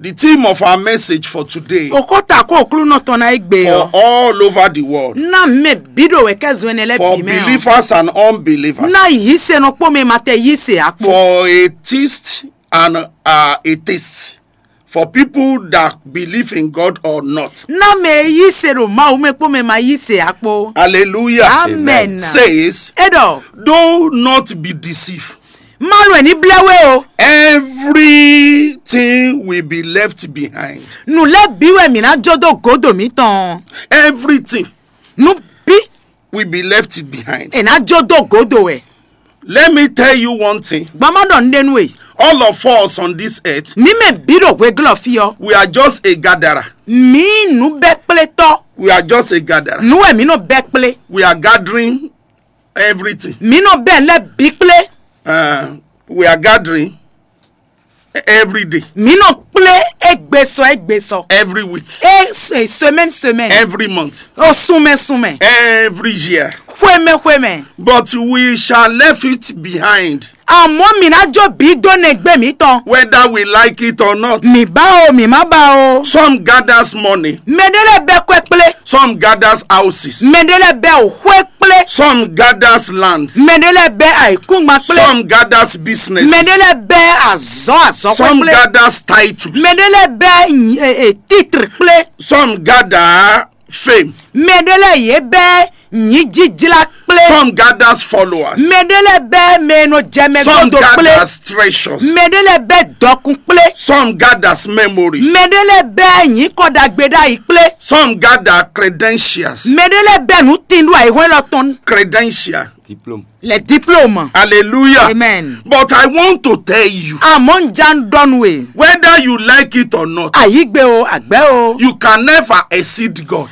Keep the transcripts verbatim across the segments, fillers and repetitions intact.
The theme of our message for today, Òkúta kó òklúnɔ tɔn ná égbé for ɔ. All over the world, Ná mɛ bí ɖo wɛ kɛ zɔn ɛnɛ lɛ́ for bǐ mɛ ɔ. Believers and unbelievers, Ná yí se nɔ kpó mɛ ma tɛ yí se akpó. For atheist and uh, atheist, for people that believe in God or not. Ná mɛ e yí se ɖo Mawu mɛ kpó mɛ ma yí se akpó. Hallelujah. Amen. Says, E ɖɔ, do not be deceived. Má lo ɛ ní blɛ́ wé o. Everything will be left behind. Nǔ lɛ́ bǐ wɛ mǐ ná jó dó gǒdo mǐtɔn. Everything Nǔ bí will be left behind. è nǎ jó dó gǒdo wɛ. Let me tell you one thing. Gbɔn má ɖɔ nǔɖé nú we. All of us on this earth, Mǐ mɛ bǐ ɖo hweglɔ́ fí ɔ́. We are just a gatherer. Mǐ nǔ bɛ́ kplé tɔ́. We are just a gatherer. Nǔ wɛ mǐ nɔ bɛ́ kplé. We are gathering everything. Mǐ nɔ bɛ́ lɛ́ bǐ kplé. Uh, we are gathering every day, Mǐ nɔ kplé égbé sɔ égbé sɔ. Every week, É se- semaine semaine. Every month, Ó súnmɛ súnmɛ. Every year. Xwémɛ xwémɛ. But we shall leave it behind. Àmọ́ mǐ ná jó bǐ dó nɛgbé mǐtɔn. Whether we like it or not. Mǐ bá o, mǐ má bá o. Some gathers money. Mɛɖé lɛ́ bɛ́ kwɛ́ kplé. Some gathers houses. Mɛɖé lɛ́ bɛ́ òxwé kplé. Some gathers lands. Mɛɖé lɛ́ bɛ́ ayǐkúngban kplé. Some gathers business. Mɛɖé lɛ́ bɛ́ azɔ̌ azɔ̌xwé Some kplé. Gathers titles. Mɛɖé lɛ́ bɛ́ nyi- e- e- titre kplé. Some gather fame. Mɛɖé lɛ́ yě bɛ́ nyǐjíjlá kplé. Some gathers followers. Mɛɖé lɛ́ bɛ́ mɛ e nɔ jɛ mɛ Some gbɔdɔ kplé. Gathers treasures. Mɛɖé lɛ́ bɛ́ dɔkun kplé. Some gathers memories. Mɛɖé lɛ́ bɛ́ nyǐkɔ ɖagbe ɖ'ayǐ kplé. Some gather credentials. Mɛɖé lɛ́ bɛ́ nǔ tin ɖo ayǐhɔ́n élɔ́ tɔn. Credential. Les diplômes. Hallelujah. Amen. But I want to tell you, Àmọ́ ń já ń dɔ́nu e. Whether you like it or not, Ayígbe o, àgbẹ́ o. You can never exceed God.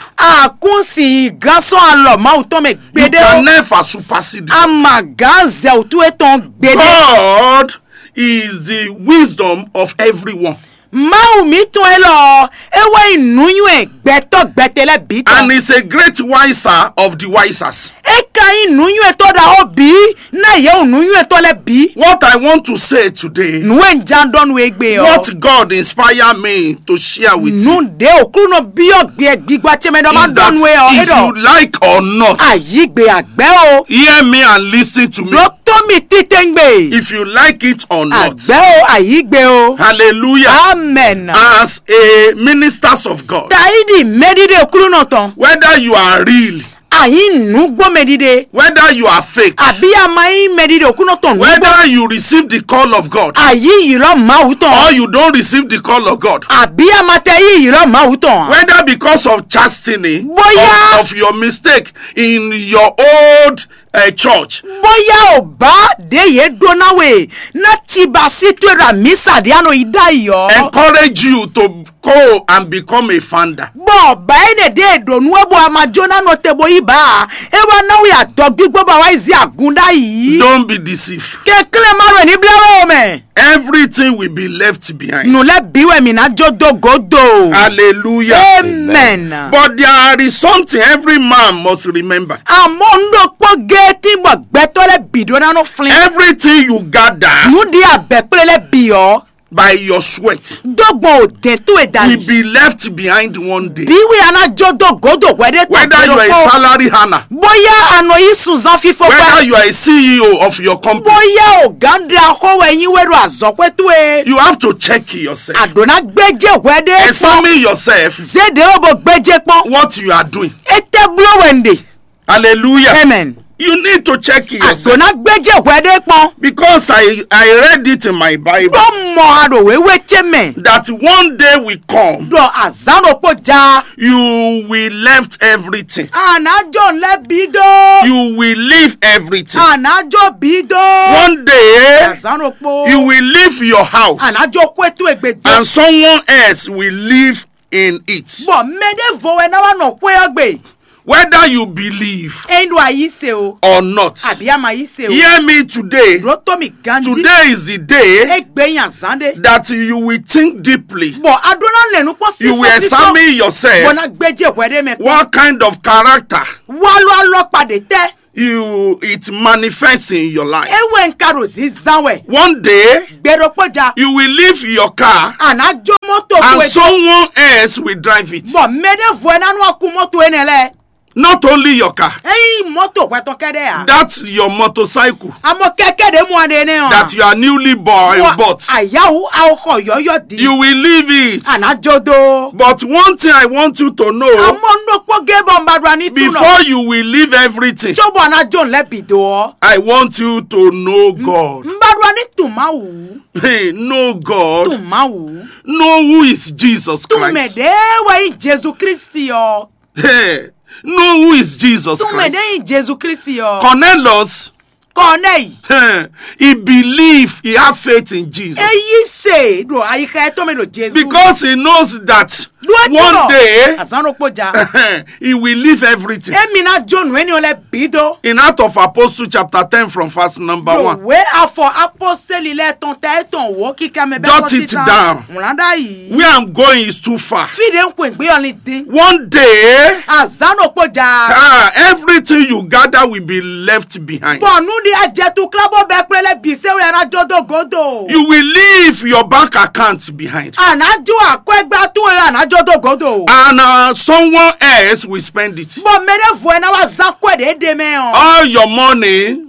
Àkúnsì gán sɔ́ alɔ Mawu tɔn mɛ You gbédé can o. Never supersede God. Àmà gán zɛ òtún etɔn gbédé. God is the wisdom of everyone. Mawu mǐtɔn élɔ́, é wɛ nyí nǔnywɛ́ gbɛtɔ́ gbɛtɛ lɛ́ɛ bǐ tɔn. And is a great wiser of the wisers. É ka nyí nǔnywɛ́tɔ́ ɖaxó bǐ ná yě wú nǔnywɛ́tɔ́ lɛ́ɛ bǐ. What I want to say today, Nǔ e un já ɖɔ nú we gbé ɔ́. What God inspire me to share with you Nǔ ɖé òkúnɔ byɔ́ gbé gbígbá ce mɛ ɖɔ má is ɖɔ that nú we ɔ́. É if you ɖɔ like or not, ayígbe àgbẹ́ o. Hear me and listen to me. Ɖó tó mi títɛngbé. If you like it or not. Àgbẹ́ o, ayígbe o. Hallelujah. Amen. As a ministers of God, Taídì mẹ́dídé òkúnɔ tán. Whether you are real, Àyín nǔgbó mẹ́dídé. Whether you are fake, Àbí a ma nyí mẹ́dídé òkúnɔ tán nǔgbó. Whether you receive the call of God, Àyí yìlọ́ Mawu tán. Or you don't receive the call of God, Àbí a ma tẹ yí yìlọ́ Mawu tán. Whether because of chastening, Bóyá- of, of your mistake in your old uh, church, Bóyá ò bá ɖě yě ɖó ná we ná ci ba sí tó ɖo àmísà ɖé ànɔ yí ɖ'ayǐ ɔ́. Encourage you to go and become a founder. Bɔ bá é nɛ ɖé ɖo nú ɛ bɔ a ma jó ná nɔ te bo yí bá a. É wá ná wí adɔ gbígbó ba wá yi zí agun ɖ'ayǐ. Don't be deceived. Kɛnklɛ́n má ɖo ní blá wɛ o mɛ. Everything will be left behind. Nǔ lɛ́ bǐ wɛ mǐ ná jó dó gǒdo. Hallelujah. Amen. But there is something every man must remember. Àmọ́ ń ɖokpó géétí bɔ gbɛtɔ́ lɛ́ bǐ ɖó ná nɔ flín. Everything you gather Nǔ ɖi abɛ̀kplé lɛ́ bǐ ɔ́. By your sweat Dó gbɔn òdɛn tó e da will be left behind one day. Bí wí a ná jó dó gǒdo hwɛɖé Whether you are a salary earner, Bóyá a nɔ yí sunzán fífó whether pẹ́. You are a C E O of your company, Bóyá ọ̀gá ń da xó wɛ yín wé ɖo azɔ̌xwé tó e. You have to check yourself. Àdó ná gbéjé hwɛɖé pɔn. Examine yourself. Zéde ó bo gbéjé pɔn. What you are doing. Étɛ́ bló wɛ ń ɖe. Hallelujah. Amen. You need to check Àdó yourself. Ná gbéjé hwɛɖé pɔn. Because I, I read it in my Bible. Ɖó mɔ aɖo wéwé ce mɛ. That one day will come. Ɖɔ azán ɖokpó ja. You will left everything. Ànájò ńlẹ́ bí dó. You will leave everything. Ànájò bí dó. One day, Azán ɖokpó. You will leave your house. Ànájò kó ètò ègbè dó. And someone else will live in it. Bɔ mɛɖé vo wɛ ná wá nɔ xwé ɔ́ gbe. Whether you believe Eyin ɖo ayi se o. Or not. Àbí a ma yi se o. Hear me today. Ɖó tó mi ganji. Today is the day Egbe yin azán ɖé. That you will think deeply. Bɔ a ɖó ná lɛnu kpɔ́n sí You will examine yourself. Bɔ ná gbéjé hwɛ ɖé mɛ kpɔ́n. What kind of character Wá lɔ alɔ padè tɛ. You it manifests in your life. Ewé nka ɖo zinzan wɛ. One day Gbɛɖokpɔja. You will leave your car. Àná jó mɔ Mɔto and towe someone else will drive it. Bɔ mɛ ɖěvo ɛ ná nɔ kú mɔto énɛ́ lɛ́ɛ. Not only your car, Eyi mɔto hwɛtɔn kɛɖɛ ya. That's your motorcycle Amɔ kɛkɛ ɖe mɔ ɖe nɛ ɔ. That you are newly bought. Ayawu awo xɔ yɔyɔ di. You will leave it. Ana jodo. But one thing I want you to know, Amɔ nɔ kpɔ ge bɔ mba ɖɔ ni tu nɔ. Before you will leave everything, Tso bɔ ana jo lɛ bi do ɔ. I want you to know God. Mba ɖɔ ni tu Mawu. Hey, know God. Tu Mawu. Know who is Jesus Christ. Tu mɛ ɖe wɛ yi Jesu Kristi ɔ. Hey, know who is Jesus Christ. Tu mɛ ɖe yi Jesu Kristi ɔ. Cornelius, Kɔnɛyi. Hey, he believed, he had faith in Jesus. Eyi se ɖo ayixa ɛtɔn mi ɖo Jesu. Because he knows that one day azan ɖokpó ja. He will leave everything. Emi ná jó nǔ énìyàn lɛ bí dó. In Act of Apostle chapter ten from verse number one. Wé afɔ aposteli lɛ tɔn tɛ etɔn wo kíkà mɛ bɛ Jot it down. Wlán dá yìí. Where I'm going is too far. Fi ɖe ń kó ìgbé ɔlin dín. One day, Azan ɖokpó ja. Ah, everything you gather will be left behind. Bɔ nu ɖi ajɛtu kílábɔ bɛ kplé lɛ bǐ se wɛ ana jó dó gǒdo. You will leave your bank account behind. Ana jó akwɛgba tún wɛ ana jó dó gǒdo. And uh, someone else will spend it. Bɔ mɛ ɖé vo ɛ ná wá zán kwɛ ɖě ɖe mɛ ɔ. All your money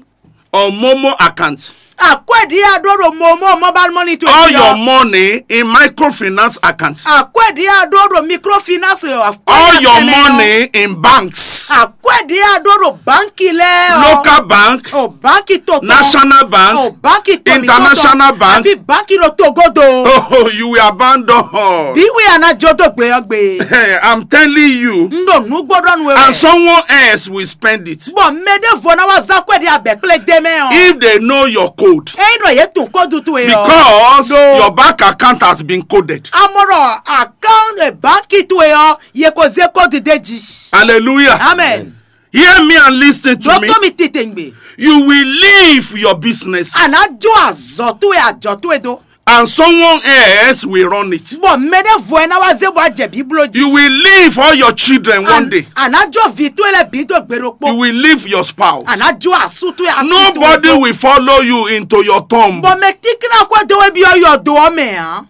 on Momo account. Akwɛ ɖi a ɖó ɖo mo mo mobile money to All your money in microfinance account. Akwɛ ɖi a ɖó ɖo microfinance. All your money in banks. Akwɛ ɖi a ɖó ɖo banki lɛ. Local bank, o banki to national bank, o banki to international bank, àbí banki ɖo togodo. Oh, you will abandon all. Bí wí a ná jó dó gbé ɔgbé. I'm telling you. N ɖo nǔgbó ɖɔ nu wɛ. And someone else will spend it. Bɔ mɛ ɖé vo ná wá zán kwɛ́ ɖi abɛ kplé dé mɛ ɔ. If they know your code. Eyi nɔ yě tún kódu towe ɔ. Because your bank account has been coded. Amɔ̀rọ̀ account banki towe ɔ yě ko zé kódu dé jí. Hallelujah. Amen. Hear me and listen to me. Dɔtɔ mi tètè ń gbé. You will leave your business. Àná jó àzɔ towe àjọ towe dó. And someone else will run it. Bɔ mɛ ɖé vo ɛ ná wá zé bɔ ajɛ bíbló jí. You will leave all your children one day. Àná jó vi tó lɛ bí tó gbèrò pɔ. You will leave your spouse. Àná jó asú tó asú tó. Nobody will follow you into your tomb. Bɔ mɛ tíkínná kó dó wé bí ɔyɔ dó ɔ mɛ hàn.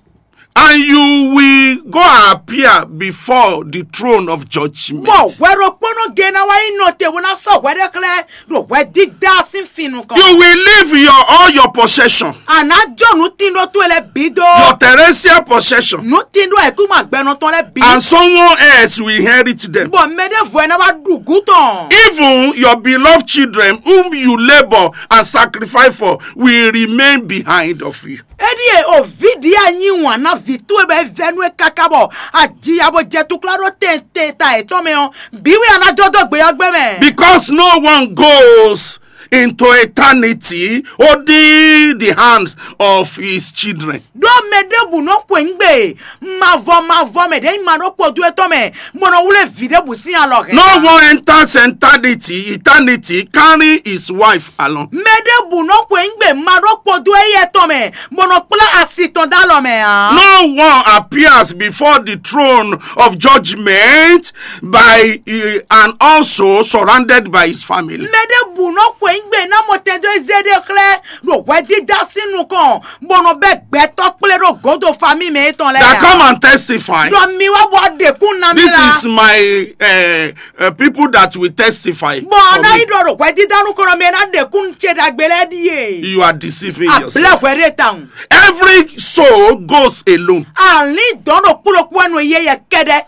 And you will go appear before the throne of judgment. Bɔ hwɛ ɖokpónɔ gé ná wá yí nɔ te wó ná sɔ́ hwɛ ɖé xlɛ́ ɖo hwɛdídá sín fin nukɔn. You will leave your all your possession. Àná jó nǔtínɖó towe lɛ́ɛ bǐ dó. Your terrestrial possession. Nǔtínɖó ẹ̀kúmọ̀ àgbẹ̀nù tɔn lɛ́ɛ bǐ. And someone else will inherit them. Bɔ mɛ ɖé vɔ ɛ ná wá ɖu gǔ tɔn. Even your beloved children whom you labour and sacrifice for will remain behind of you. Eɖie o vǐ ɖi anyi wǎn ná vǐ towe bɔ é vɛ́ nú é káká bɔ ajiya bó jɛ tukla ɖó tɛntɛn ta yětɔn mɛ ɔ́, bǐ wɛ a ná dó dó gbe ɔ́ gbé mɛ. Because no one goes into eternity holding the hands of his children. Ɖó mɛ ɖěbǔ nɔ xweyǐgbe mavɔ mavɔ mɛ ɖě nyí ma ɖó kpodú étɔn mɛ, bó nɔ wlé vǐ ɖěbǔ sín alɔ hɛn. No one enters eternity, eternity carrying his wife along. Mɛ ɖěbǔ nɔ xweyǐgbe ma ɖó kpodú éyɛ́ tɔn mɛ, bó nɔ kplá asi tɔn dó alɔ mɛ ǎ. No one appears before the throne of judgment by uh, and also surrounded by his family. Mɛ ɖěbǔ nɔ xweyǐgbe ná mɔ tɛn dó ezé ɖé xlɛ́ ɖo hwɛdídá sín nukɔn, bó nɔ bɛ́ gbɛtɔ́ kplé ɖó gǒdo famí mɛ étɔn lɛ́ɛ. That come and testify. Ɖɔ mi wá bɔ ɖekún ná mi la. This is my uh, uh, people that will testify. Bɔ a ná yi ɖɔ ɖo hwɛdídá nukɔn mɛ ná ɖekún ce ɖagbe lɛ́ɛ ɖíe. You are deceiving yourself. Àbílẹ̀ hwɛ ɖé tawun. Every soul goes alone. Àlín dɔn ɖo kplɔ́kpɔ́ nɔ yé yɛ kɛɖɛ.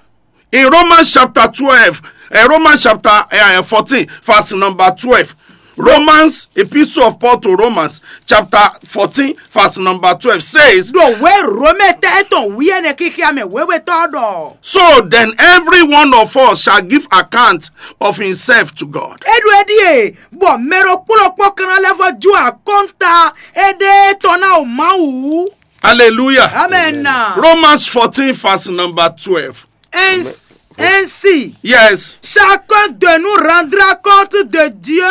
In Romans chapter twelve, uh, Romans chapter uh, fourteen, verse number twelve. Romans, epistle of Paul to Romans, chapter fourteen, verse number twelve says, ɖo wé Romɛ tɛ etɔn wíyɛ́ nɛ kíkíá mɛ wéwétɔ́ ɖɔ. So then every one of us shall give account of himself to God. Eɖo eɖie bɔ mɛ ɖokpó ɖokpó kan lɛ́ vɔ jó akɔnta eɖe tɔn ná o Mawu. Hallelujah. Amen. Romans fourteen, verse number twelve. Ainsi, ainsi, yes, chacun de nous rendra compte de Dieu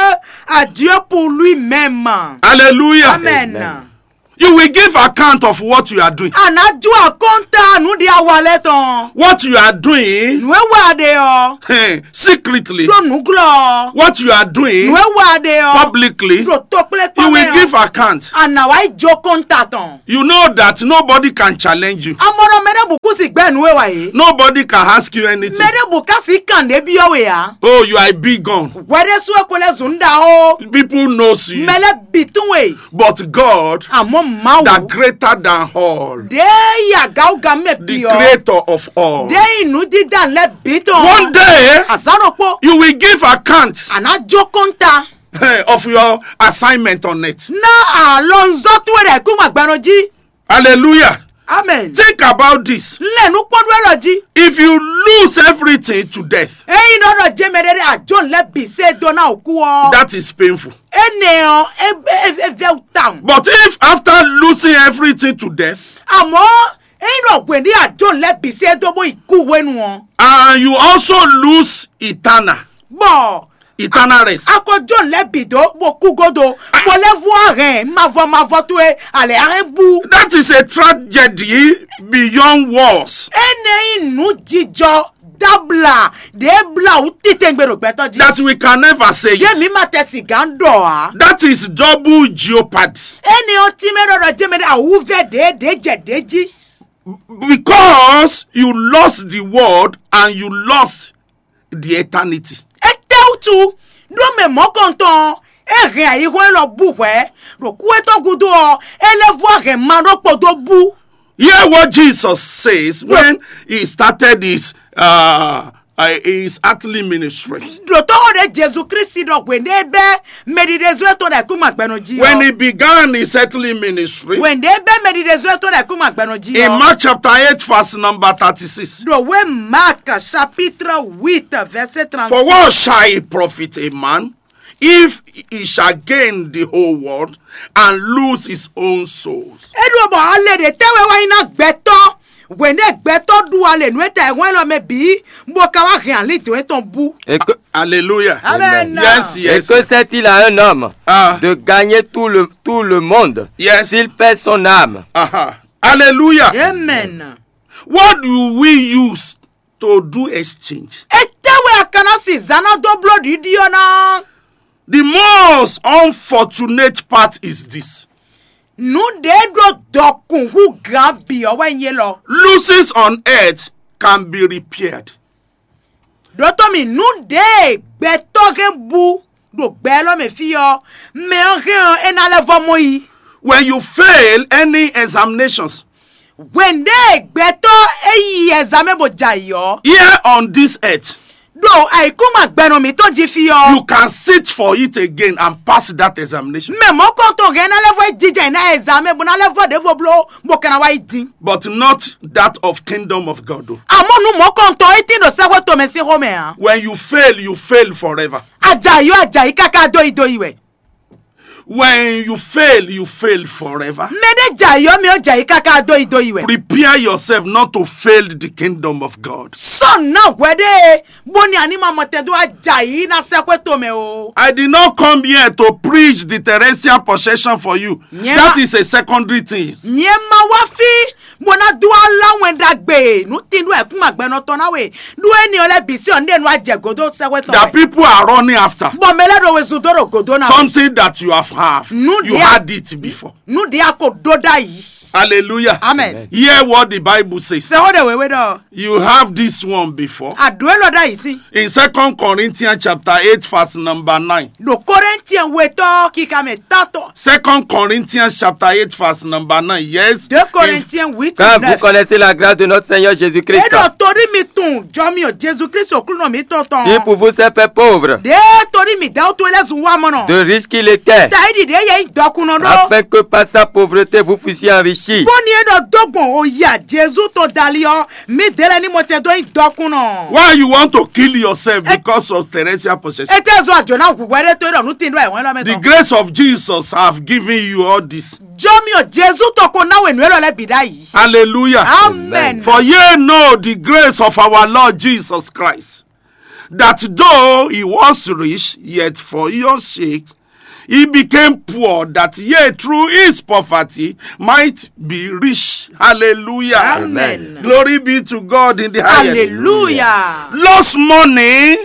à Dieu pour lui-même. Hallelujah. Amen. Amen. You will give account of what you are doing. Àná jó àkọ́ńtà nú Ɖi awa lɛ́ɛ tɔn. What you are doing, Nǔ e wa ɖe ɔ́, eh, secretly. Ɖo nǔglɔ́ ɔ́. What you are doing, Nǔ e wa ɖe ɔ́. Publicly. Ɖo tokplékpɔ́ You mɛ will ɔ́. Give account. A nǎ wá yi jó kɔ́nta tɔn. You know that nobody can challenge you. Amɔnɔ mɛ ɖěbǔ kú si gbɛ́ nǔ e wa yě. Nobody can ask you anything. Mɛ ɖěbǔ ká si kàn ɖě byɔ́ we ǎ. Oh, you are a big gun. Hwɛ ɖésú e ko lɛ́ zun ɖa ó. People knows you. Mɛ lɛ́ bǐ tún we. But God, Àmọ́ Mawu, that greater than all, ɖě yi agawuga mɛ the bǐ ɔ́, creator of all. Ɖě yi nǔdídá lɛ́ bǐ tɔn. One day, Azǎn ɖokpó, you will give account, a nǎ jó kɔ́nta, eh, of your assignment on earth. Ná alɔnzɔ́ towe ɖo ayǐkúngban gbɛ́nɔ jí. Hallelujah. Amen. Think about this. Lɛ nukpɔ́nɖó élɔ́ jí. If you lose everything to death, Ényí nɔ ɖɔ jɛmɛ ɖé ɖé ajó lɛ́ bǐ sé dó ná òkú ɔ́, that is painful. Énɛ́ ɔ́, é é é vɛ́ wú tawun. But if after losing everything to death, Àmọ́ ényí nɔ hwě ní ajó lɛ́ bǐ sé dó bó yi kú hwenu ɔ́, and you also lose eternal, bɔ eternal rest. A ko jó lɛ́ bǐ dó bó kú gódo, bó lɛ́ vú ahɛn mavɔ mavɔ towe alɛ ahɛn bú. That is a tragedy beyond words. Énɛ́ nyí nǔ jijɔ dáblá ɖě blá wú titɛngbé ɖo gbɛtɔ́ jí. That we can never say Yé it. Mǐ ma tɛ sigǎn ɖɔ ǎ. That is double jeopardy. Énɛ́ ɔ́ tínmɛ ɖɔ ɖɔ jɛmɛ ɖé awúvɛ́ ɖě ɖě jɛ ɖě jí. Because you lost the world and you lost the eternity. Étɛ́wútu ɖó mɛ mɔ̌kɔntɔn ɔ́, é hɛn ayihɔ́n élɔ́ bú hwɛ̌, ɖo kú étɔn gúdo ɔ́, é lɛ́ vɔ́ hɛn ma ɖokpó dó bú. Hear what Jesus says when he started his uh, uh, his earthly ministry. Ɖǒtɔ́ ɖě Jezu Klísu ɖɔ hwěɖé bɛ́ mɛɖiɖezɔ́ tɔn ɖo ayǐkúngban gbɛ́nɔ jí ɔ́. When he began his earthly ministry, Hwěɖé bɛ́ mɛɖiɖezɔ́ tɔn ɖo ayǐkúngban gbɛ́nɔ jí in ɔ́. Mark chapter eight, verse number thirty-six. Ɖo wé Mark chapitre huit verset trente-six. For what shall it profit a man if he shall gain the whole world and lose his own soul? É ɖo bɔ ale ɖě tɛ́ wɛ wá nyí ná gbɛtɔ́ hwěɖé gbɛtɔ́ ɖu ale nǔ e ta ɛhwɛ́n élɔ́ mɛ bǐ, bó ka wá hɛn alín dǒ étɔn bú. Et que, Hallelujah. Amen. Yes, et yes. Que sert-il à un homme Ah, de gagner tout le, tout le monde yes. S'il perd son âme? Aha. Hallelujah. Amen. What do we use to do exchange? Étɛ́ wɛ a ka ná si zǎn ná dó bló ɖiɖi ɔ́ ná? The most unfortunate part is this. Nǔ ɖě ɖó dɔkun hú gǎn bǐ ɔ́ wɛ nyí élɔ́. Losses on earth can be repaired. Ɖǒtó mi, nǔ ɖě gbɛtɔ́ hɛn bú ɖo gbɛ élɔ́ mɛ fí ɔ́, mɛ ɔ́ hɛn ɔ́, é ná lɛ́ vɔ́ mɔ yí. When you fail any examinations, Hwěɖé gbɛtɔ́ e yi ɛzamɛ bó jɛ ayǐ ɔ́, here on this earth, ɖo ayǐkúngban gbɛnɔ mǐtɔn jí fí ɔ́, You can sit for it again and pass that examination. Mɛ mɔ̌kɔntɔn hɛn ná lɛ́ vɔ yi jijɛ ná ɛzamɛ bó ná lɛ́ vɔ ɖěvo bló bó ka ná wá yi din. But not that of kingdom of God. Though. Àmọ́ nú mɔ̌kɔntɔn é tín ɖo sɛ́xwé tomɛ sín xomɛ ǎ. When you fail, you fail forever. Àjàyí ɔ́ àjàyí káká dó yi dó yi wɛ. When you fail, you fail forever. Mɛ ɖé jɛ ayǐ ɔ́ mi ɔ́ jɛ ayǐ káká dó yi dó yi wɛ. Prepare yourself not to fail the kingdom of God. Sɔ ná hwɛ ɖé bó ní anímɔ mɔtɛn dó wá jɛ ayǐ ná sɛ́xwé tomɛ o. I did not come here to preach the terrestrial possession for you. Nyɛ That ma- is a secondary thing. Nyɛ ma wá fí bó ná dó wá lá wɛn ɖagbe nú tíndú ẹ̀kún agbɛnɔ tɔn ná we ɖó éni ɔ́ lɛ́ bǐ sí ɔ́ ní ɖe nú ajɛ gǒdó sɛ́xwé tɔn That wɛ. People are running after. Bɔ mɛ lɛ́ ɖo wezun dó ɖo gǒdó ná we. Something that you have have. Nú You ɖě had it before. Nú ɖě a ko ɖó ɖ'ayǐ. Hallelujah. Amen. Hear what the Bible says. Sɛ wo ɖe wěwé ɖɔ. You have this one before. Àdó é lɔ ɖ'ayǐ sí. In Second Corinthians chapter eight, verse number nine. Ɖo Kɔrɛntiɛn wetɔ́ kíka mɛ tátɔ. Second Corinthians chapter eight, verse number nine. Yes. Deux Corinthiens huit, Car vous neuf. Connaissez la grâce de notre Seigneur Jésus-Christ. É ɖɔ torí mi tunwun jɔ mi ò Jezu Kristu Aklúnɔ mǐtɔn tɔn. Qui pour vous s'est fait pauvre. Ɖě torí mi dɛ́ wútu é lɛ́ zun wá mɔnɔ. De riche qu'il était. Tayi ɖiɖi é yɛ nyí dɔkunnɔ ɖó. Afin que par sa pauvreté vous fussiez enrichis. Bó ní é ɖɔ dó gbɔn òyà Jezu tɔn dali ɔ́, mi dě lɛ ní mo tɛ dó nyí dɔkunnɔ. Why you want to kill yourself because of terrestrial possession? Étɛ́ zɔ àjò ná hu hwɛ ɖé tó é ɖɔ nú tín ɖó ẹ̀wọ̀n lɔ mɛ The tɔn. Grace of Jesus have given you all this. Jɔmiɔ Jezu tɔn ko ná wɛ nǔ élɔ́ lɛ́ɛ bǐ ɖ'ayǐ. Hallelujah. Amen. For ye know the grace of our Lord Jesus Christ, that though he was rich, yet for your sake He became poor that ye through his poverty might be rich. Hallelujah. Amen. Glory be to God in the highest. Hallelujah. Lost money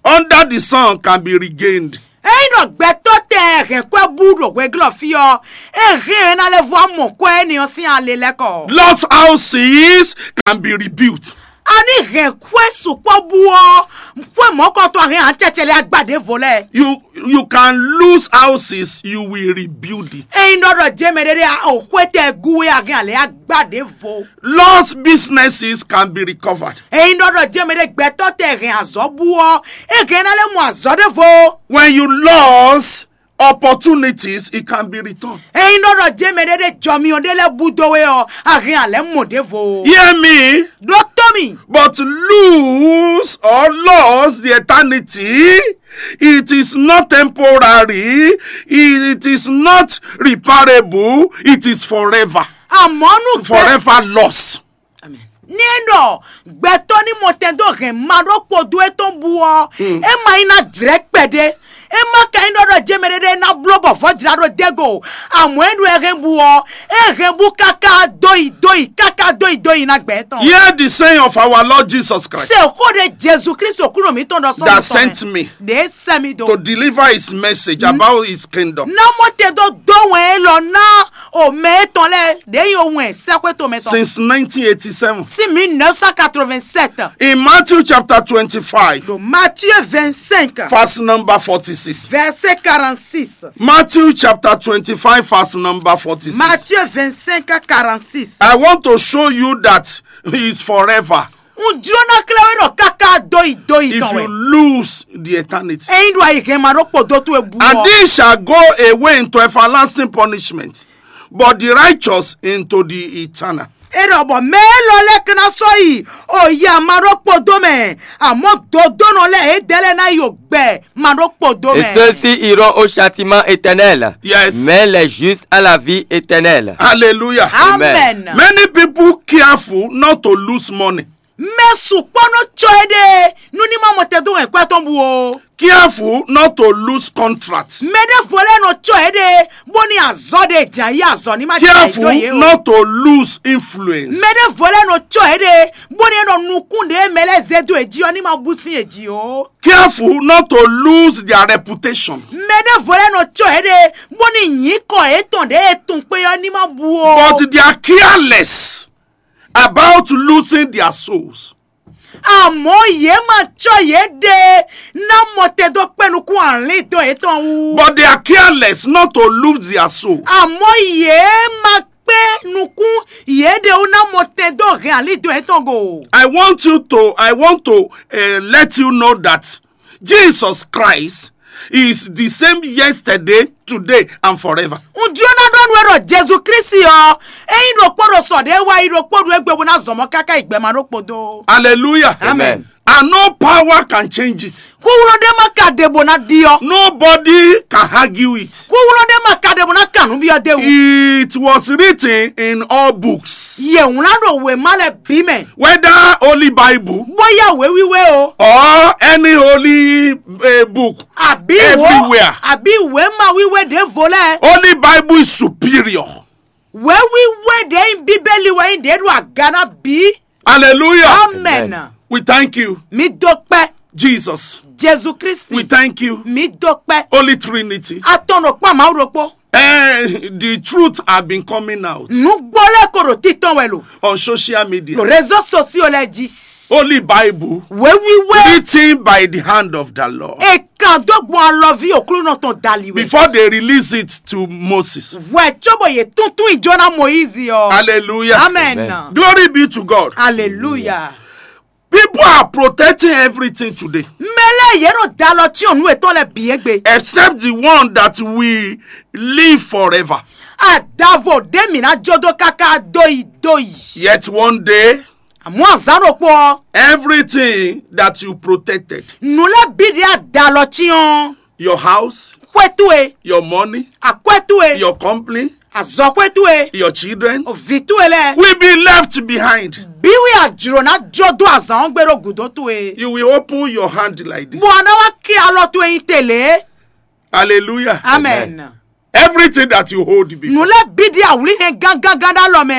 under the sun can be regained. Ényí ɖɔ gbɛtɔ́ tɛ hɛn kwɛ́ bú ɖo hweglɔ́ fí ɔ́, é hɛn ɛ ná lɛ́ vɔ mɔ kwɛ́ énɛ́ ɔ́ sín ale lɛ́ɛ kɔ. Lost houses can be rebuilt. A ní hɛn xwé sukpɔ́ bú ɔ́, xwé mɔ̌kɔtɔn a hɛn acɛcɛ lɛ́ɛ agba ɖěvo lɛ́ɛ. You you can lose houses, you will rebuild it. Ényí ɖɔ ɖɔ jɛmɛ ɖé ɖé o xwé tɛ gú wé a hɛn alɛ agba ɖěvo. Lost businesses can be recovered. Ényí ɖɔ ɖɔ jɛmɛ ɖé gbɛtɔ́ tɛ hɛn azɔ̌ bú ɔ́, é hɛn ná lɛ́ mɔ azɔ̌ ɖěvo. When you lost opportunities, it can be returned. Ényí ɖɔ ɖɔ jɛmɛ ɖé ɖé jɔmyɔ ɖé lɛ́ɛ bú dó wé ɔ́, a hɛn alɛ mɔ ɖěvo. Hear me. Ɖó tɔ́ mì. But lose or lost the eternity, it is not temporary, it is not reparable, it is forever. Àmọ́ nú gbɛ- Forever lost. Ní é ɖɔ gbɛtɔ́ ní mɔ tɛn dó hɛn ma ɖó kpodó étɔn bú ɔ́, é ma nyí ná jlɛ̌ kpɛɖé. É ma ka nyí ɖɔ ɖɔ jɛmɛ ɖé ɖé ná bló bɔ vɔ̌ jlá ɖó dégò. Àmọ́ é ɖo ɛ hɛn bú ɔ́, é hɛn bú káká dó yi dó yi káká dó yi dó yi ná gbɛ tɔn. Hear the saying of our Lord Jesus Christ Se xó ɖe Jezu Kristu kúnɔ mǐtɔn ɖɔ sɔ́ that sent me ɖě sɛ mi dó. To deliver his message about his kingdom. Ná mɔ te dó dó wɛn élɔ́ ná o mɛ étɔn lɛ́ɛ ɖě yi o wɛn sɛ́xwé tomɛ tɔn. Since nineteen eighty-seven. Sí mille neuf cent quatre-vingt-sept. In Matthew chapter twenty-five, Ɖo Matthieu vingt-cinq, verse number forty-six. Verset quarante-six. Matthew chapter twenty-five, verse number forty-six. Matthieu vingt-cinq, quarante-six. I want to show you that he is forever. Un jló ná klɛ́ we ɖɔ káká dó yi dó yi If tɔn you wɛ. Lose the eternity. Ényí ɖo ayi hɛn ma ɖó kpodó towe bú And ɔ́. He shall go away into everlasting punishment, but the righteous into the eternal. É ɖɔ bɔ mɛ élɔ́ lɛ́ɛ ka ná sɔ́ yi o yi ama ɖó kpodó mɛ, àmọ́ dodónɔ lɛ́ɛ é dɛ́ lɛ́ɛ ná yi o gbɛ ma ɖó kpodó Et mɛ. Ceux-ci iront au châtiment éternel, Yes. Mais les justes à la vie éternelle. Hallelujah. Amen. Many people careful not to lose money. Mɛ sukpɔ́ nɔ cɔ é ɖe nú ní ma mɔ tɛdó hɛn kwɛ́ tɔn bú o. Careful not to lose contract. Mɛ ɖěvo lɛ́ɛ nɔ cɔ é ɖe bó ní azɔ̌ ɖe jǎ yí azɔ̌ ní ma jɛ Careful dó yě o. Not to lose influence. Mɛ ɖěvo lɛ́ɛ nɔ cɔ é ɖe bó ní é nɔ nukún ɖě mɛ lɛ́ɛ zé dó é jí ɔ́ ní ma bú sín é jí o. Careful not to lose their reputation. Mɛ ɖěvo lɛ́ɛ nɔ cɔ é ɖe bó ní nyǐkɔ yětɔn ɖě e tunwun kpé ɔ́ ní ma bú o. But they are careless about losing their souls. Àmọ́ yě ma cɔ yěɖée ná mɔ te dó kpɛ́ nukún alíndɔn yětɔn wú. But they are careless not to lose their soul. Àmọ́ yě ma kpé nukún yěɖée wú ná mɔ te dó hɛn alíndɔn yětɔn go. I want you to, I want to uh, let you know that Jesus Christ is the same yesterday, today, and forever. Un jló ná ɖɔ nú we ɖɔ Jezu Kristi ɔ́, é nyí ɖokpó ɖo sɔ ɖě wá yi ɖokpó ɖo égbé bó ná zɔn mɔ káká yi gbɛmɛ ɖokpó dó. Hallelujah. Amen. And no power can change it. Xúxlɔ́ ɖé má ka ɖe bó ná ɖi ɔ́. Nobody can argue it. Xúxlɔ́ ɖé má ka ɖe bó ná kan nǔ byɔ́ dé wú. It was written in all books. Yě wlán ɖo wěma lɛ́ɛ bǐ mɛ. Whether Holy Bible, Bóyá wěwíwé o. Or any holy uh, book, Àbí wò Everywhere. Àbí wěma wíwé ɖěvo lɛ́ɛ. Holy Bible is superior. Wěwíwé ɖě nyí Bíbélì wɛ nyí ɖě ɖo aga ná bǐ. Hallelujah. Amen. We thank you, Mi dó kpɛ́. Jesus. Jezu Kristi. We thank you, Mi dó kpɛ́. Holy Trinity. Atɔn ɖo kpá Mawu ɖokpó. Eh, the truth have been coming out Nǔgbó lɛ́ɛ ko ɖo títɔn wɛ lo. On social media. Lo réseau sociaux lɛ́ɛ jí. Holy Bible. Wěwíwé. Written by the hand of the Lord. È kàn dó gbɔn alɔví òklúnɔ tɔn dali wɛ. Before they release it to Moses. Wɛ cóbɔ yě túntún ìjọ ná Moyizi ɔ. Hallelujah. Amen. Amen. Glory be to God. Hallelujah. People are protecting everything today. Mɛ lɛ́ɛ yě nɔ da alɔ cyɔn nǔ yětɔn lɛ́ɛ bǐ égbé. Except the one that will live forever. Adavo ɖé mǐ ná jó dó káká dó yi dó yi. Yet one day, Àmọ́ azǎn ɖokpó ɔ́, everything that you protected, nǔ lɛ́ɛ bǐ ɖě a da alɔ cyɔn. Your house, Xwé towe, your money, akwɛ́ towe, your company, azɔxwé towe, your children, vǐ towe lɛ́ɛ, will be left behind. Bí wí a jlǒ ná jó dó azǎn ɔ́ gbé ɖó gǔdo towe. You will open your hand like this. Bɔ a ná wá ké alɔ towe nyi te lě. Hallelujah. Amen. Everything that you hold Nǔ before, lɛ́ɛ bí ɖi awlí hɛn gángangán ɖó alɔ mɛ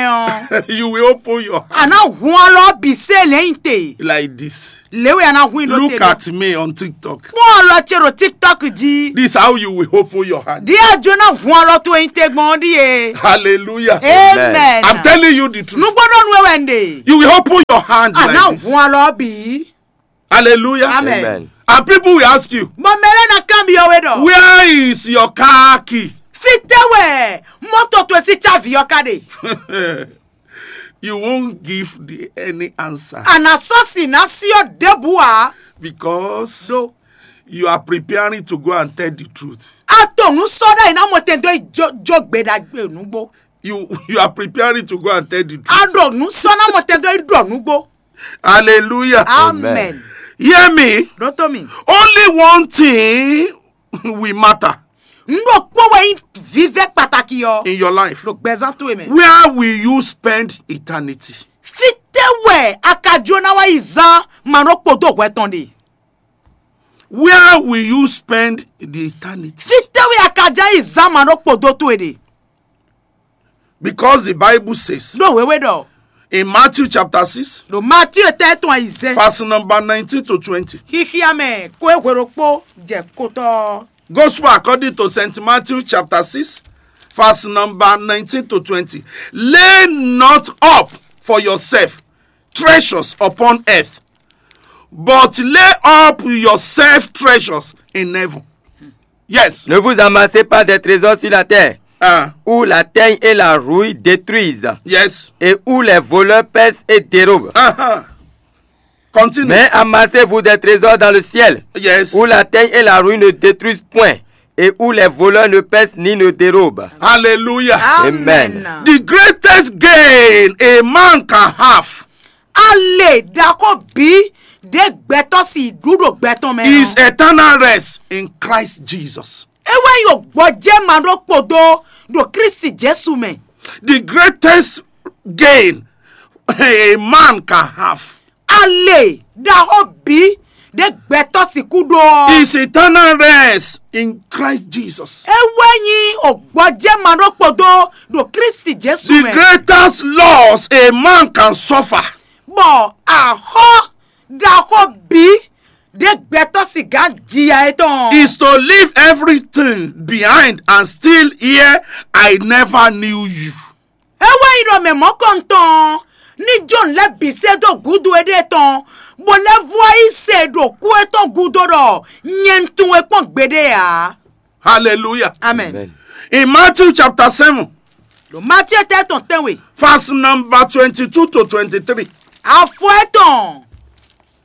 ɔ́. You will open your A hand ná hun alɔ ɔ́ bǐ sé lɛ̌nyite. Like this. Lě wɛ a ná hun i ɖó Look te ɖo. At me on TikTok. Kpɔ́n alɔ ce ɖo TikTok jí. This is how you will open your hand. Ɖíe a jló ná hun alɔ towe nyi te gbɔn ɔ́ ɖíe. Hallelujah. Amen. I'm telling you the truth. Nǔgbó ɖɔ nú we wɛ un ɖe. You will open your hand A ná like this. Hun alɔ ɔ́ bǐ. Hallelujah. Amen. Amen. And people will ask you, Bɔ mɛ lɛ́ɛ ná kanbyɔ́ we ɖɔ. "Where is your car key?" Fítɛ́ wɛ mɔ́tò towe sín cávi ɔ́ ká ɖe. You won't give the, any answer. A nǎ sɔ́ si ná sí ɔ́ ɖěbǔ ǎ. Because Ɖó you are preparing to go and tell the truth. A to nǔ sɔ́ ɖ'ayǐ ná mɔ tɛn dó yi jó jó gbe ɖagbe nǔgbó. You, you are preparing to go and tell the truth. A ɖo nǔ sɔ́ ná mɔ tɛn dó yi ɖɔ nǔgbó. Hallelujah. Amen. Hear me. Ɖó tó mi. Only one thing will matter Nǔ ɖokpó wɛ nyí vívɛ́ kpatakí ɔ́. In your life. Ɖo gbɛzán towe mɛ. Where will you spend eternity? Fítɛ́ wɛ a ka jló ná wá yi zán ma nɔ kpo dó hwɛ tɔn ɖe? Where will you spend the eternity? Fítɛ́ wɛ a ka jló yi zán ma nɔ kpo dó towe ɖe? Because the Bible says Ɖó wěwé ɖɔ. In Matthew chapter six, Ɖo Matíe tɛ́ tɔn ayizɛ́n. Verse number nineteen to twenty. Xixia mɛ kó e hwe ɖokpó jɛ kotɔ́. Gospel according to Saint Matthew chapter six, verse number nineteen to twenty. Lay not up for yourself treasures upon earth, but lay up yourself treasures in heaven. Yes. Ne vous amassez pas des trésors sur la terre, Uh, où la teigne et la rouille détruisent, yes. Et où les voleurs percent et dérobent. Uh-huh. Continue. Mais amassez-vous des trésors dans le ciel, Yes. Où la teigne et la rouille ne détruisent point, et où les voleurs ne percent ni ne dérobent. Hallelujah. Amen. The greatest gain a man can have Ale ɖaxó bí ɖě gbɛtɔ́ si ɖu ɖo gbɛ tɔn mɛ is ɔ́. Eternal rest in Christ Jesus. É wɛ nyí gbɔjɛ́ ma ɖó kpodo ɖo Kristi Jesu mɛ. The greatest gain a man can have Ale ɖaxó bí ɖě gbɛtɔ́ sixú ɖó ɔ́. is eternal rest in Christ Jesus. É wɛ nyí gbɔjɛ́ ma ɖó kpodo ɖo Kristi Jesu The mɛ. Greatest loss a man can suffer Bɔ axɔ́ ɖaxó bí ɖě gbɛtɔ́ si gǎn jiya étɔn. Is to leave everything behind and still hear, "I never knew you." É wɛ nyí ɖɔ mɛ mɔ̌kɔntɔn ní jó nǔ lɛ́ɛ bǐ sɛ́ dó gǔdo éɖée tɔn, bó lɛ́ vú wá yi se ɖo kú étɔn gúdo ɖɔ nyɛ un tunwun we kpɔ́n gbeɖé ǎ. Hallelujah. Amen. Amen. In Matthew chapter seven, Ɖo Matíe tɛ́ tɔn tɛnwe, verse number twenty-two to twenty-three. afɔ étɔn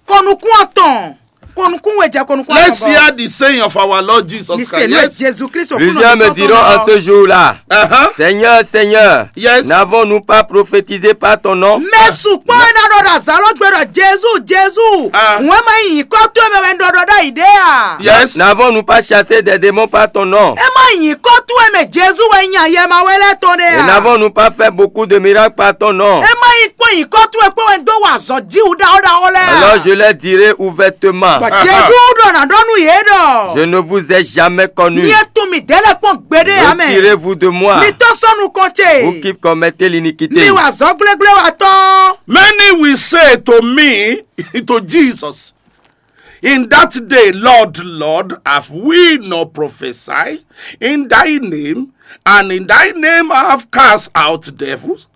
kɔnukún atɔn kɔnukún we jɛ kɔnukún Let's atɔn hear the saying of our Lord Jesus Ní Christ. sèlú Yes. Jesu Kristo Plusieurs me diront en ce jour-là, Uh-huh. Seigneur, Seigneur, Yes. N'avons-nous pas prophétisé par ton nom? Mɛ sukpɔ́ ɛ ná ɖɔ ɖo azǎn lɔ gbe ɖɔ Jezu Jezu. Ah. Wɛn ma nyí nyǐkɔ towe mɛ wɛ un ɖɔ ɖɔ ɖ'ayǐ ɖé a? Yes. N'avons-nous pas chassé des démons par ton nom? É ma nyí nyǐkɔ towe mɛ Jezu wɛ nyí ayɛ ma wɛ lɛ́ɛ tɔn ɖé Et a? N'avons-nous pas fait beaucoup de miracles par ton nom? É ma nyí kpɔ́n nyǐkɔ towe kpɔ́n wɛ un dó wa azɔ̌ jíwu ɖaxó ɖaxó lɛ́ɛ a? Alors je leur dirai ouvertement, Bɔ Jezu ɖɔ nǎ ɖɔ nú yě ɖɔ. Je ne vous ai jamais connu. Nyɛ tunwun mì dɛ̌ lɛ́ɛ kpɔ́n gbeɖé ǎ mɛ. Retirez-vous de moi, Mi tɔ́ sɔ́ nukɔn ce. Vous qui commettez l'iniquité. Mi wa azɔ̌ gblégblé wa tɔn. Many will say to me, to Jesus, in that day, "Lord, Lord, have we not prophesied in thy name, and in thy name have cast out devils,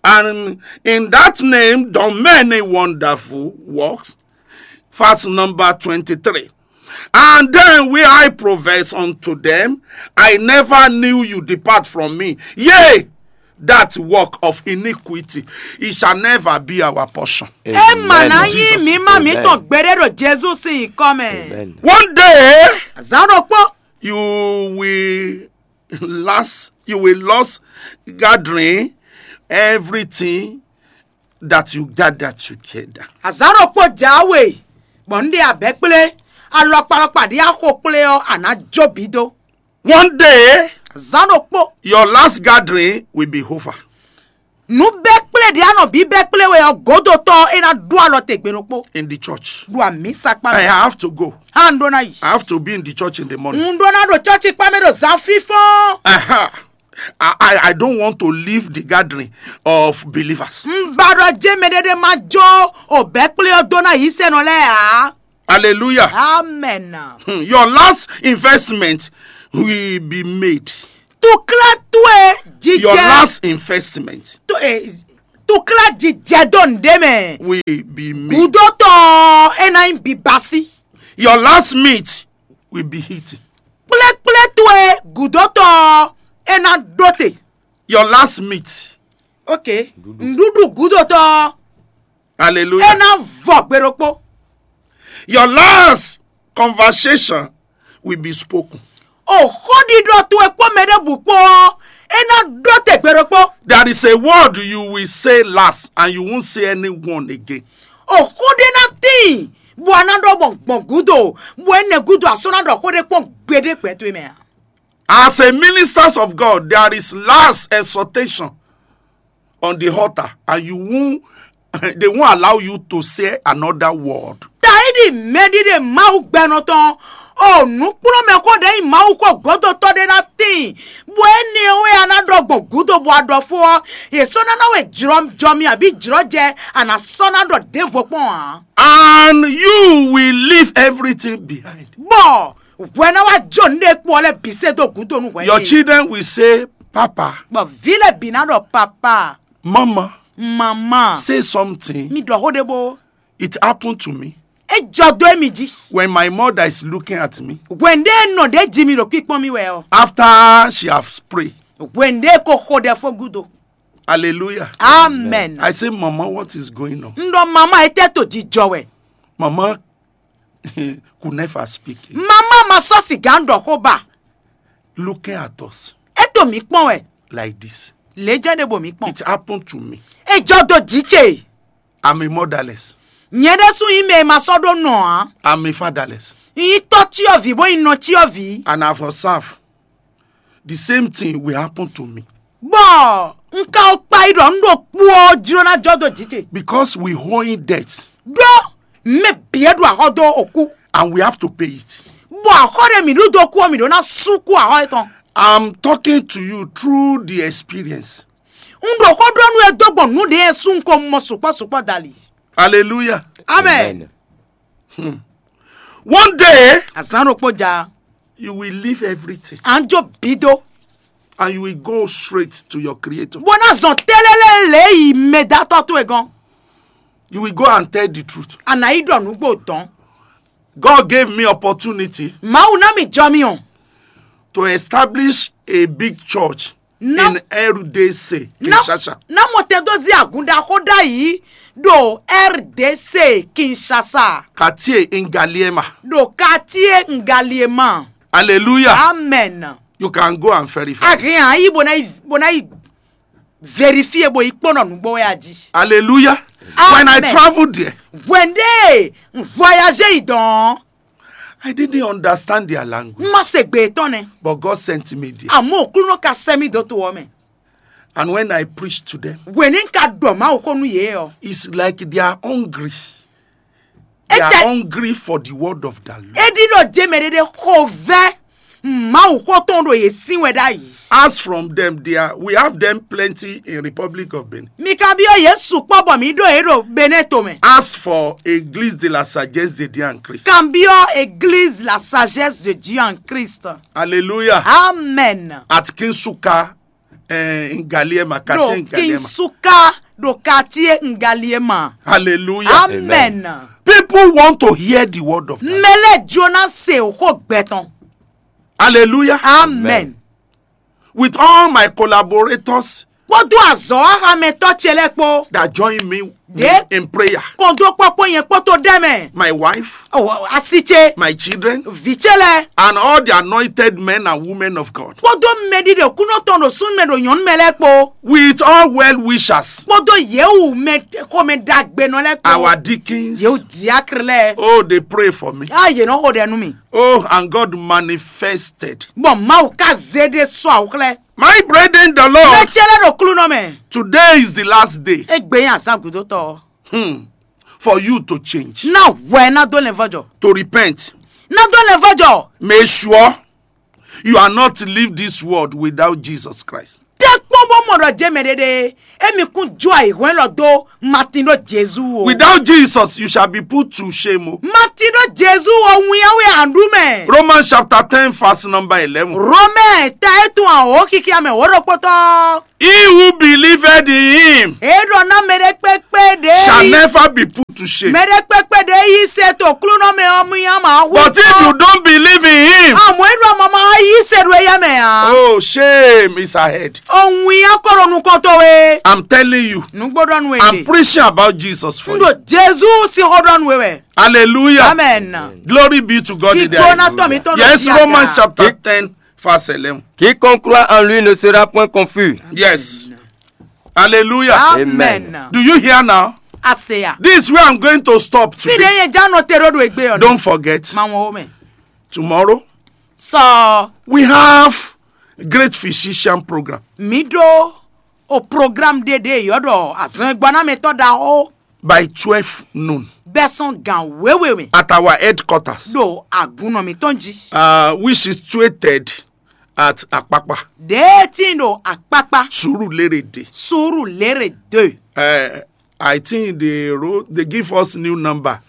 and in that name done many wonderful works?" Verse number twenty-three. And then will I profess unto them, "I never knew you, depart from me, ye that work of iniquity." It shall never be our portion. É mà ná Amen. nyí mǐmá mǐtɔn gbeɖé ɖo Jezu sín nyǐkɔ mɛ. Amen. One day, Azǎn ɖokpó, you will last, you will lost gathering everything that you gather together. azǎn ɖokpó jǎwe, bɔ un ɖe abɛ̌ kplé, alɔkpalɔkpa ɖě axo kplé ɔ́, a nǎ jó bǐ dó. One day, Azǎn ɖokpó, your last gathering will be over. nǔ bɛ́ kplé Mɛ ɖě a nɔ bǐbɛ́ kplé we ɔ́, gǒdotɔ́ ɔ́, é ná ɖó alɔ te gbe ɖokpó. In the church. Ɖo amǐsa kpá I mɛ. Have to go. Há un ɖó ná yi. I have to be in the church in the morning. Un ɖó ná ɖo cɔ́ci kpá mɛ ɖo zǎn fínfɔ́n. Aha. I, I, I don't want to leave the gathering of believers. Un ba ɖɔ jé mɛɖé ɖé má jó o bɛ́ kplé ɔ́ dó ná yǐsɛnɔ lɛ́ɛ ǎ. Hallelujah. Amen. Hmm, your last investment will be made. Tukla towe. Your jijɛ last investment to, eh, tukla jijɛ dó nǔɖé mɛ. Will be made. Gudotɔ, é ná nyí bibasi. Your last meat will be eaten. Kplekple towe gudotɔ, é ná ɖó te. Your last meat. Ok. Nǔɖuɖu gudotɔ, Hallelujah. É ná vɔ gbe ɖokpó. Your last conversation will be spoken. O xóɖiɖɔ towe kpó mɛ ɖěbǔ kpó ɔ́, é ná ɖó te gbe ɖokpó. There is a word you will say last and you won't say anyone again. O xó ɖé ná tíin, bɔ a ná ɖɔ gbɔn gbɔn gúdo, bɔ énɛ́ gúdo a sɔ́ ná ɖɔ xó ɖé kpɔ́n gbeɖé gbɛ towe mɛ ǎ. As a ministers of God, there is last exhortation on the altar, and you won't, they won't allow you to say another word. Taidi mɛɖiɖe Mawu gbɛnɔ tɔn, o nǔkplɔ́nmɛ xó ɖě nyí Mawu xó gǒdotɔ́ ɖé ná tíin, bɔ énɛ́ wɛ a ná ɖɔ gbɔn gǔdo bɔ a ɖɔ fó ɔ́, yě sɔ́ ná ná we jlɔ́ jɔ mi abǐ jlɔ́ jɛ a nǎ sɔ́ ná ɖɔ ɖěvo kpɔ́n ǎ. And you will leave everything behind. Bɔ hwɛ ná wá jó nǔ ɖé kpó ɔ́ lɛ́ɛ bǐ sɛ́ dó gǔdo nú hwɛ. Your children will say, Papa. Bɔ vǐ lɛ́ɛ bǐ ná ɖɔ papa. Mama. Mama. Say something. Mi ɖɔ xó ɖé bó. It happened to me. É jɔ dó émi jí. When my mother is looking at me. Hwɛ̌n ɖé nɔ ɖě jí mi ɖo kpíkpɔ́n mì wɛ ɔ́. After she has prayed. Hwɛ̌n ɖé ko xo ɖɛ fó gúdo. Hallelujah. Amen. I say, Mama, what is going on? Un ɖɔ mama, étɛ́ to jijɔ wɛ. Mama could never speak. Mama ma sɔ́ sǐgá ɖɔ xó ba. Looking at us. É to mǐ kpɔ́n wɛ. Like this. Lě jɛ́n ɖé bɔ mǐ kpɔ́n. It happened to me. É jɔ dó jǐ ce. I'm a motherless. Nyɛ ɖésú nyí mɛ e ma sɔ́ ɖó nɔ ǎ. I'm a fatherless. Nyí tɔ́ cyɔ́vǐ bó nyí nɔ cyɔ́vǐ. And I've observed the same thing will happen to me. Bɔ un ka kpa yi ɖɔ un ɖo kú ɔ́ jló ná jɔ dó jǐ ce. Because we owing debt. Ɖó mɛ bǐ e ɖo axɔ dó okú. And we have to pay it. Bɔ axɔ ɖe mǐ ɖu dó kú ɔ́, mǐ ɖó ná sú kú axɔ étɔn. I'm talking to you through the experience. Un ɖo xó ɖɔ nú we dó gbɔn nǔ ɖě e sú un ko mɔ sukpɔ́ sukpɔ́ dali. Hallelujah. Amen. Hmm. One day, azán ɖokpó ja, you will leave everything. À ń jó bí dó. And you will go straight to your creator. Bó ná zɔn télélé lě yi mɛ dátɔ́ towe gɔ́n. You will go and tell the truth. À nǎ yi ɖɔ nǔgbó dɔn. God gave me opportunity. Mawu ná mi jɔ mi o. To establish a big church in R D C, Kinshasa. Ná mɔ tɛ dó zí àgùn ɖaxó ɖ'ayǐ ɖo R D C Kinshasa. Quartier Ngaliema. Ɖo quartier Ngaliema. Hallelujah. Amen. You can go and verify. A hɛn a yi bó ná yi bó ná yi vérifier bó yi kpɔ́n ɖɔ nǔgbó wɛ a jí. Hallelujah. Amen. When I traveled there, hwɛndé voyage yi dɔn. I didn't understand their language. Má se gbe tɔn nɛ. But God sent me there. Àmọ́ Òklúnɔ ka sẹ́ mì dó to ɔ́ mɛ. And when I preach to them, wění ka ɖɔ Mawu xó nú yě ɔ́. It's like they are hungry. They are hungry for the word of the Lord. É ɖi ɖɔ jé mɛ ɖé ɖé xo vɛ́ Mawu xó tɔn ɖo yě sín wɛ ɖ'ayǐ. As from them, they are, we have them plenty in Republic of Benin. Mi kanbyɔ́ yě sukpɔ́ bɔ mǐ ɖo yě ɖo Benɛ́ tomɛ. As for Église de la Sagesse de Dieu en Christ. Kanbyɔ́ Église la Sagesse de Dieu en Christ. Hallelujah. Amen. At Kinsuka, eh, Ngaliema, quartier Ngaliema. Kinsuka ɖo quartier Ngaliema. Hallelujah. Amen. People want to hear the word of God. Mɛ lɛ́ɛ jló ná se xó gbɛ tɔn. Hallelujah. Amen. With all my collaborators. Kpódó azɔ̌ axamɛtɔ́ ce lɛ́ɛ kpó. That join me Ɖě in prayer. Kɔn dó kpɔ́kpɔ́ nyɛ kpótó ɖɛ́ mɛ. My wife, Oh, asi ce, my children, vǐ ce lɛ́ɛ, and all the anointed men and women of God. Kpódó mɛɖiɖe kúnɔ tɔn ɖo súnnu mɛ ɖo nyɔ̌nu mɛ lɛ́ɛ kpó. With all well wishers. Kpódó yěwu mɛ xomɛ ɖagbenɔ lɛ́ɛ kpó. Our deacons. Yěwu diákre lɛ́ɛ. Oh, they pray for me. Á yě nɔ xo ɖɛ nú mì. Oh, and God manifested. Bɔ Mawu ka zé ɖé sɔ́ awǔ xlɛ́. My brethren, the Lord. Mɛ ce lɛ́ɛ ɖo klúnɔ mɛ. Today is the last day. Égbé nyí azǎn gǔdótɔ́. Hmm. For you to change. Ná hwɛ ná dó lɛn vɔ́jɔ. To repent. Ná dó lɛn vɔ́jɔ. Make sure you are not leave this world without Jesus Christ. Tɛ́ kpɔ́n bó mɔ ɖɔ jɛ mɛ ɖéɖé émi kún jó ayǐhɔ́n élɔ́ dó Matin ɖó Jezu o. Without Jesus, you shall be put to shame. O. Matin ɖó Jezu o, winnyáwé àndú mɛ. Romans chapter ten, verse number eleven. Romɛ ta e tún àwòrán kíkí amɛ wǒ ɖokpótɔ́. He who believed in him. Èé ɖɔ ná mɛ ɖé kpékpé ɖě shall never be put to shame. Mɛ ɖé kpékpé ɖě yí se to klúnɔ mɛ ɔ́ mú yá mǎ hu. But if you don't believe in him, àmọ́ é ɖɔ mama yí se ɖo éyá mɛ ǎ. Oh, shame is ahead. Ohun ya kɔ ɖo nukɔn towe. I'm telling you, nugbo ɖɔ nu I'm preaching about Jesus for you. Ndo Jesu si xɔ ɖɔ nu wɛ. Hallelujah. Amen. Glory be to God in the highest. Yes, Romans chapter ten, verse eleven. Quiconque croit en lui ne sera point confus. Yes. Hallelujah. Amen. Do you hear now? Aseya. This is where I'm going to stop today. Fi ɖe yẹn já nɔ te ɖo ɖo egbe ɔ. Don't forget. Ma wọn o mɛ. Tomorrow, so we have great physician program. Mi ɖo o program ɖe ɖe yɔ ɖɔ azɔn gbɔnamɛtɔ ɖaxó. By twelve noon. Bɛsɔn gan wewe mɛ. At our headquarters. Ɖo agunɔ mitɔn ji. Uh, which is situated at Akpakpa. Ɖe tí ɖo Akpakpa. Surulere de. Surulere de. Uh, I think they wrote, they give us new number,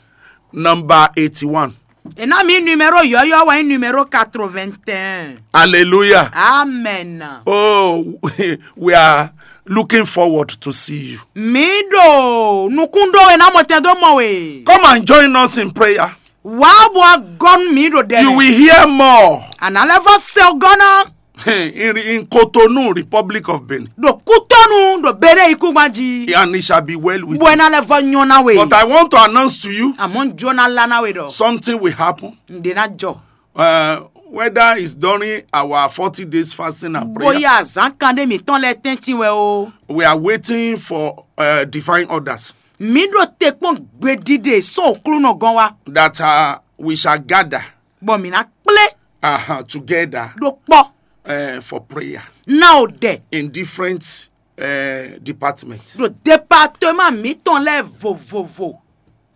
number eighty-one. E ná mi numéro yɔyɔ wɛ nyí numéro quatre-vingt-un. Hallelujah. Amen. Oh, we are looking forward to see you. Mi ɖo nukúndó e ná mɔ tɛn dó mɔ we. Come and join us in prayer. Wá bɔ agɔnu mi ɖo ɖɛ. You will hear more. Àná lɛ́ vɔ se gɔ́ ná. In, in Cotonou, Republic of Benin. Ɖo kútɔnu ɖo bere ikúngban jí. And it shall be well with you. Bɔ ena lɛ vɔ nyɔ na we. But I want to announce to you. Àmọ́ ń jó ná lá ná we ɖɔ. Something will happen. Ǹdè ná jɔ. Uh, whether it's during our forty days fasting and prayer. Bóyá àzán kan ɖé mǐtɔn lɛ tɛ́ntin wɛ o. We are waiting for uh, divine orders. Mǐ ɖo te kpɔ́n gbeɖiɖe sɔ́ òklúnɔ gɔ́n wá. That uh, we shall gather. Bɔ mǐ ná kplé. Uh-huh, together. Ɖo kpɔ́. Uh, for prayer. Ná o ɖɛ. In different uh, departments. Ɖo département mǐtɔn lɛ́ɛ vovovo.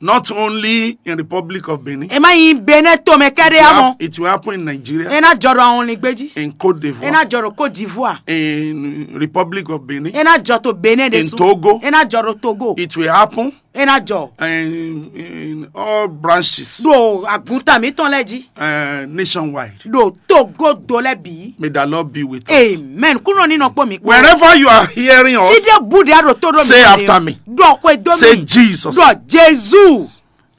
Not only in Republic of Benin. E má nyí Benin tomɛ kɛɖé amɔ. It will happen in Nigeria. E ná jɔ ɖo àwọn olùgbé jí. In Cote d'Ivoire. E ná jɔ ɖo Côte d'Ivoire. In Republic of Benin. E ná jɔ to Benin ɖe. In Togo. E ná jɔ ɖo Togo. It will happen. E ná jɔ. In, in all branches. Ɖo àgùntàn mǐtɔn lɛ́ɛ jí. Uh, nationwide. Ɖo togodo lɛ́ɛ bǐ. May the Lord be with us. Amen. Kúnɔ ní nɔ kpó mi kpó. Wherever you are hearing us, ìdè búdìá ɖo tó ɖo mi. Say after me. Ɖɔ xwe dó mi. Say Jesus. Ɖɔ Jesu.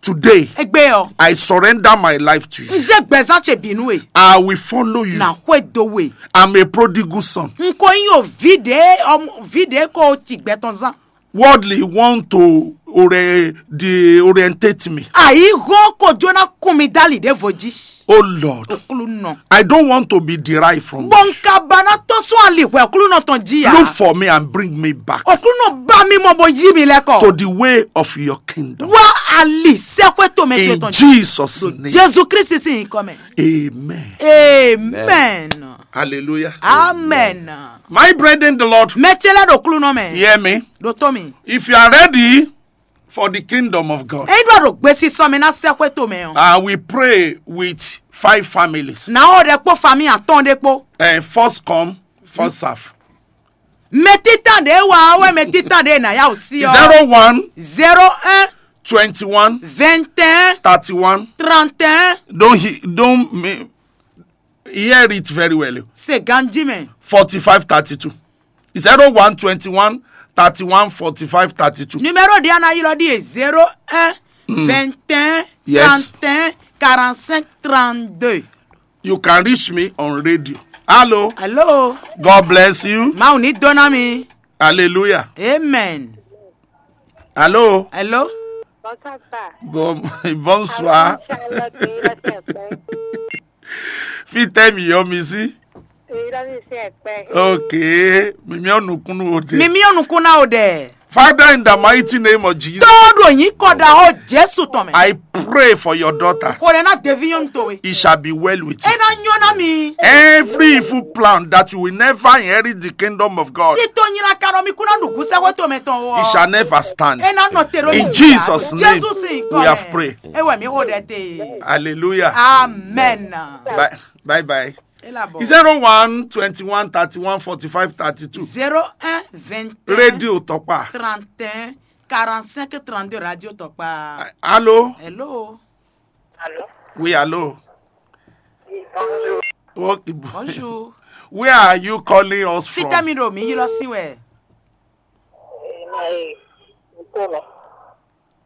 Today, egbe ɔ. I surrender my life to you. N dé gbɛzán ce bínú e. I will follow you. Na xwe dó we. I'm a prodigal son. N ko nyí o vi ɖe ɔmɔ vi ɖe ko ti gbɛtɔn zán. Worldly want to ore, de orientate me. Àyíhó kò jóná kún mi dálì ɖěvo jí. Oh Lord, Òkúlù nɔ. I don't want to be derived from you. Bɔn ka ba ná tɔ́ sún ali hwɛ Òkúlù nɔ tɔn jí ya. Look for me and bring me back. Òkúlù nɔ bá mi mɔ bó yí mi lɛ kɔ. To the way of your kingdom. Wá ali sẹ́kọ̀ẹ́ tó mɛ tó tɔn jí. In Jesus' name. Jésù Kristi sì ń kọ́ mẹ́. Amen. Amen. Hallelujah. Amen. My brethren in the Lord. Mɛ ce lɛ ɖo Òkúlù nɔ mɛ. Hear me. Ɖo tó mi. If you are ready for the kingdom of God, Eyin ɖɔ ɖo gbesisɔ mɛ ná sɛxwé tomɛ ɔ. I will pray with five families. Nǎ ɔ ɖɛ kpó fami atɔn ɖé kpó. And first come, first serve. Mɛ títàn ɖé wá wɛ mɛ títàn ɖé nǎ yá ò sí ɔ. Zero one, Zéro un, twenty one, vingt et un, thirty one, trente et un. Don't he, don't me, hear it very well. Se ganji mɛ. Forty five thirty two. Zero one twenty one thirty one forty five thirty two. Numéro ɖé ana ylɔ ɖi e zéro un, vingt et un, Yes. Trente et un, quarante-cinq, trente-deux. You can reach me on radio. Hello. Hello. God bless you. Mawu ní dó ná mi. Hallelujah. Amen. Allô? Hello? Bonsoir, papa. Bon, bonsoir. Charlotte, èyí lọ sí ẹ̀pẹ́. Fitemi Yomisi. Èyí lọ sí ẹ̀pẹ́. Okay. Mimi onukunu ode. Mimi onukun na o ɖe. Father, in the mighty name of Jesus, Tó ɖo yín kɔ ɖa xó Jésù tɔn mɛ. I pray for your daughter. Kò lè ná devi nyɔnu towe. It shall be well with E you. ná nyɔ ná mi. Every evil plan that you will never inherit the kingdom of God, Tito nyina kanɔ mi kú ná ɖu gúsɛ xó tɔn mɛ tɔn o. it shall never stand. E ná nɔ te ɖo In Jesus' name, Jésù sin we have prayed. E wɛ mi xó ɖɛ te. Hallelujah. Amen. Bye bye. Bye. E la bɔ. Zero one twenty one thirty one forty five thirty two. Zéro un vingt un Radio Tokpa. trente un quarante cinq trente deux radio Tokpa. Allô? Hello. Allô? Oui, allô. Oui, bonjour. Okay. Bonjour. Where are you calling us from? Fitemi ɖo mi yi lɔ sin wɛ. Eh, mais, Ntolo.